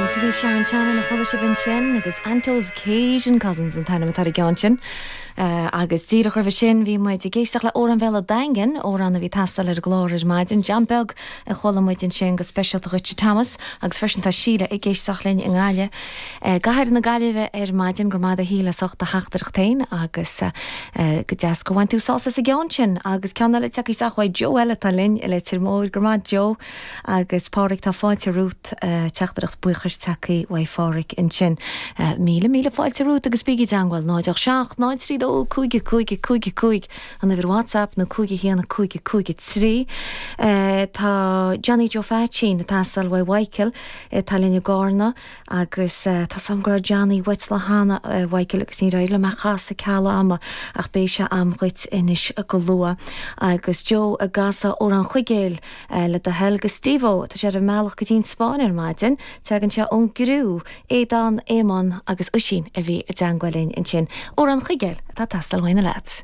Sin í Sharon Shannon a chuala sibh ansin agus Anto's Cajun Cousins an t-ainm atá ar an gceann sin. Agus díreach roimhe sin bhí muid ag éisteacht le Amhrán Bhéal an Daingin, amhrán a bhí ag teastáil ar an gclár ar maidin. Jam Beag a chuala muid ansin go speisialta dhuit a Thomas agus freisin tá Síle ag éisteacht linn i nGaillimh, i gcathair na Gaillimhe ar maidin. Go raibh maith agat a Shíle as ucht do theachtaireacht féin agus go deas gur bhain tú sásamh as an gceann sin. Agus ceann eile tagtha isteach uaidh Joe eile atá linn i Leitir Móir. Go raibh maith Joe. Agus Páraic, tá fáilte romhat, teachtaireacht buíochais tagtha uaidh Pháraic ansin. Míle, míle fáilte romhat agus bígí i dteangmháil, 0 8 7 0 3 2 5 5 5 5, an uimhir WhatsApp nó 5 1 5 5 3. Tá Johnny Joe Pheaitsín ag teastáil uaidh Mhichael, atá linn i gCarna, agus tá's a'm go raibh Johnny uait lá cheana, a Mhichael, agus níor éirigh liom é a chasadh ceal ama, ach beidh sé a'm dhuit anois go luath. Agus Joe ag casadh Amhrán Chuigéil. Le do thoil do Steve-O, tá sé ar an mbealach go dtí an Spáinn ar maidin. Tagann sé ón gcriú, Aodán, Éamonn agus Oisín a bhí i dteangmháil linn ansin. Amhrán Chuigéil atá ag teastáil uaidh na leaids.